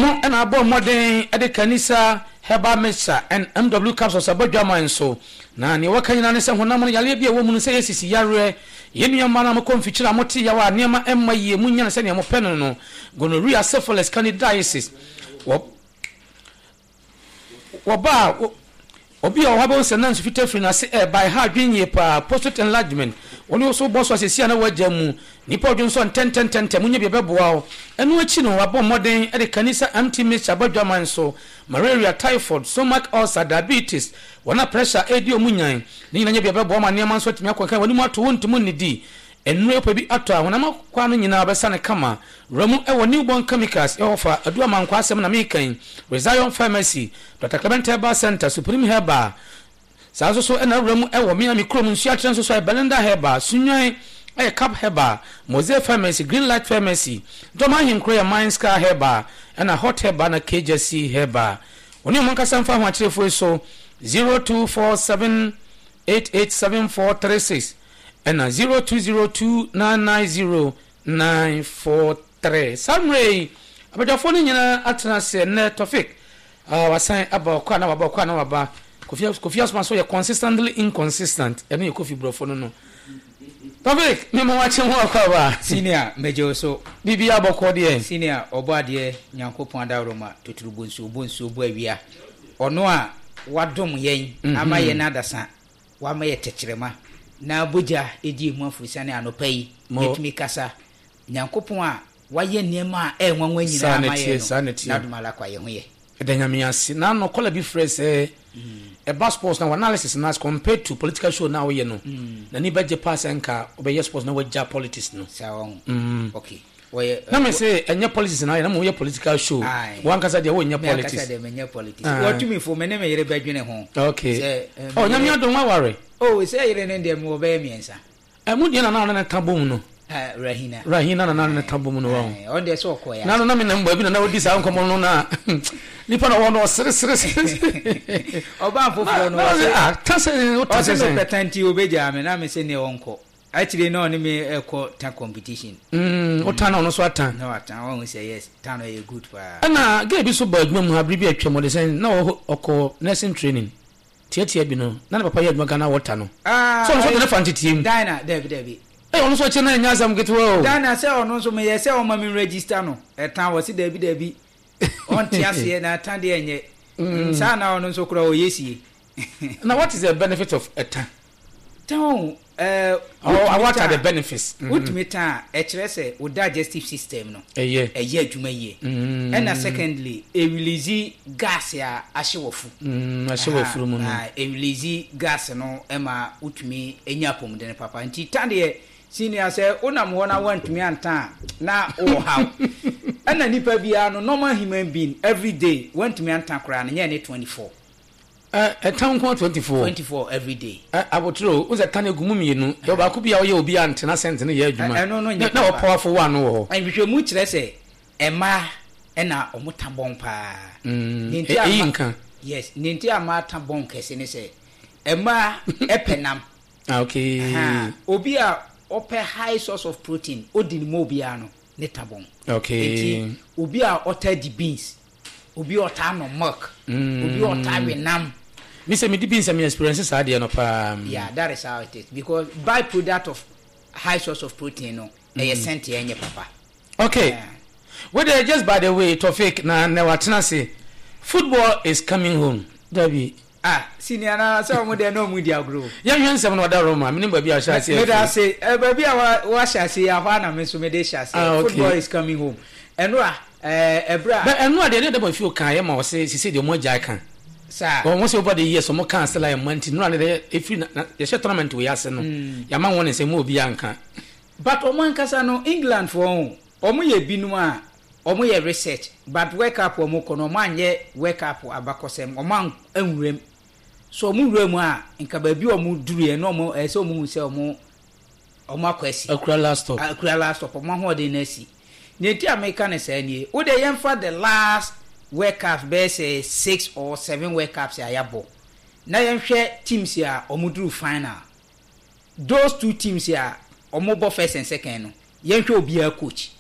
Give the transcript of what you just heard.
Wɔn na abɔ mmɔden de Kanisa Herbal Mixture and MW Capsules abɔ dwaman so. Na nea wɔka nyinaa ne sɛ honam no yareɛ bi a ɛwɔ mu no sɛ ɛyɛ sisi yareɛ. Yɛn nua mmaa no a mokɔ mfikyire a mote yaw a nneɛma mma yie, monnya no sɛnea mopɛ no no, gonorrhea, syphilis, candidiasis, wɔ Wɔba a, obi a ɔwɔ hɔ bɛhu sɛ na nsu fitaa firi n'ase reba. Ɛha adwene yie paa. Prostate enlargement, wo ne wo so bɔ so a seesei a na woagya mu. Nnipa a wɔdwonsɔ ntɛntɛntɛntɛm, wonya bi a ɛbɛboa wo. Ɛno akyi no, wɔabɔ mmɔden de Kanisa MT mixture aba adwaman so. Malaria, typhoid, stomach ulcer, diabetes, wɔn a pressure redi wɔn nyan, ne nyinaa nya bi a ɛbɛboa ma nneɛma nso atumi akɔ nkan. W'anim ato, wontumi nnidi. Nnuro yi wopɛ bi atɔ a, honam akwaa no nyinaa bɛsa no kama. Wura mu wɔ New Born Chemicals ɛhɔ fa Adu Amankwaa asɛm na meka yi, Rezion Pharmacy, Doctor Clement Herbal Centre, Supreme Herbal, saa nso so na wura mu wɔ me a me kurom Nsuakyerɛ nso so ayɛ Belinda Herbal, Sunwan ɛyɛ Cap Herbal, Mose Pharmacy, Green Light Pharmacy, Dɔm Ahenkuro yɛ Mine Scar Herbal, ɛna Hot Herbal na Kejasi Herbal. Wo ne wɔn nkasa mfa ahoakyerɛfoɔ yi so 0247 887436 ɛna 0202 990 943. Saa mmerɛ yi, abadwafoɔ no nyinaa atena ase. Ɛnnɛ, Tofik, ah, wasan aba, ɔkɔ a na waba, ɔkɔ a na waba. Kofi, Kofi Asoma nso yɛ consistently inconsistent. Ɛno yɛ Kofi borɔfo no no. Tofik, me ma wakye ho akɔ aba. Senior, megye wo so. Biribi abɔkɔ deɛ. Senior, ɔbɔ adeɛ, Nyankopɔn adaworoma, totorobɔ nsuo, bɔ nsuo, bɔ awia. Ɔno a wadom yɛn ama yɛn adasa. Wama yɛ tɛkyerɛma na bogya di emu aforosiane anɔpa yi yɛtumi kasa. Nyankopɔn a wayɛ nneɛma a ɛyɛ nwanwa nyinaa ama yɛn no, n'adom ara kwa yɛn ho yɛ. Yɛda Nyame ase. N'ano kɔla bi frɛ sɛ ɛba sports na w'analysis no as compared to political show no a woyɛ no, n'ani bɛgye paa sɛ nka wobɛyɛ sports na wagya politics no. Saa wahu. Okay. Wɔyɛ. Na me se ɛnyɛ politics na ayɛ na mo yɛ political show. Aye. Wankasa deɛ wonyɛ Me ankasa politics. deɛ menyɛ politics. Ah. Wɔtumi fo me ne me yere bɛdwene ho. Okay. Sɛ eh, Oh, me nyame yere. adom waware. Oh, sɛ yere no deɛ mewɔ bɛyɛ mmiɛnsa. Eh, mo deɛ na na ɔne ne ka bom no. Ah, Rahina. Rahina na na ɔne ne ka bom no wɔn. Aye, ɔno deɛ sɛ ɔkɔɛ Na ase. no na me nam baabi na na odi saa nkɔmmɔ no na nipa na ɔwɔ no ɔsere sere sere. Ɔbaa Na foforɔ no na ɔse ɔse ah, ta sɛ wo ta ɔse sɛ sɛn. mepɛ ta nti obɛgyaa me na me se neɛ ɔnkɔ. Akyire na ɔne me ɛkɔ ta competition. Mm, wo ta na ɔno nso ata. Na wata, wahu sɛ yes, ta no ɛyɛ good paa. Ɛna girl bi nso baa adwuma mu ha bere bi a atwam, ɔde sɛn, na ɔwɔ ɔkɔ nursing training tiatia bi no, na ne papa yɛ adwuma Ghana Water no. Ah, So ɔno nso ɔde no fa nteteɛ mu. Dinah, dabi dabi. Ei, ɔno nso akyire na ɛnyɛ asɛm ketewa o. Dinah sɛ ɔno nso meyɛ sɛ ɔma me register no, ɛta, ɔse dabi dabi, ɔnte aseɛ na ɛta deɛ ɛnyɛ. Mm, saa na ɔno nso koraa ɔyɛ sie. Na what is the benefit of ɛta? Tan o, ɛɛ, Or wotumi what are tan the a, benefits? Mm. wotumi tan a, ɛkyerɛ sɛ wo digestive system no, Ɛyɛ. ɛyɛ adwuma yie. Ɛna secondly, ɛrelease gas a ahye wɔ fu. Mm, ahye wɔ afuru mu no. Aha, ɛrelease gas no ma wotumi nya apɔmuden papa. Nti tan deɛ, senior, sɛ wonam hɔ na woantumi antan a, na wowɔ haw. Ɛna nipa biara no, normal human being, every day, woantumi antan koraa no, nyɛ ne 24. Ɛ ɛtan nko ara 24. 24 every day. Ɛ abotere o, wohu sɛ tan egu mu mmienu. Yɛwɔ baako bi a ɔyɛ obi a ntena sɛnte no yɛ adwuma. Ɛno no nyɛ Na papa. ɔwɔ powerful one no wɔ hɔ. Nhwehwɛmu kyerɛ sɛ mmaa na wɔn ta bɔn paa. Mm, Nea nti a eyi mma nka. Yes, nea nti a mmaa ta bɔn kɛse ne sɛ mmaa pɛ nam. Ah, okay. Ahaa, obi a ɔpɛ high source of protein, odi ne mu obiara no, ne ta bɔn. Okay. Nti obi a ɔtaa di beans, Obi a ɔtaa nom milk. Obi a ɔtaa we nam. Me sɛ me di beans a me experience saa adeɛ no paa. Yeah, that is how it is because by product of high source of protein no ɛyɛ sɛnti ɛnyɛ papa. Okay, Yeah. wei deɛ just by the way Tofik na nɛ watena ase football is coming home dabi. Ah senior na sɛ ɔmo deɛ na ɔmo di agorɔ o. Yɛnhwɛ nsɛm no ɔda Roma menim baabi a ɔhyɛ aseɛ Meda afiri. ase eh, baabi a wa wahyɛ ase yi ahɔ a na me nso mede hyɛ aseɛ. Ah okay. Football is coming home. Ɛnora eh, ɛberɛ a. But ɛnora deɛ ne Dɛbɔ Afio kaa yɛ ma ɔse sisei deɛ ɔmo agyae ka. Saa. Wɔn sɛ over the years ɔmo kaa sɛ like mma nti nora ne deɛ ɛfiri na na yɛhyɛ tournament wei ase no yɛama wɔn nsɛ mma obiara nka. But ɔmo ankasa no England foɔ ho ɔmo yɛ binom a ɔmo yɛ research but world cup ɔmo kɔ no ɔmo anyɛ world cup abakɔsɛm ɔmo anwura mu so ɔmo wura mu a nka baabi a ɔmo duruiɛ no ɔmo ɛsɛ ɔmo hu sɛ ɔmo ɔmo akɔ asi. Akura last stop. Akura last stop ɔmo ahoɔden no asi. Nea nti a meka no saa nie wo deɛ yɛnfa the last world cups bɛyɛ sɛ six or seven world cups a yɛabɔ na yɛnhwɛ teams a ɔmo duru final. Those two teams a ɔmo bɔ first and second no yɛnhwɛ obiara coach.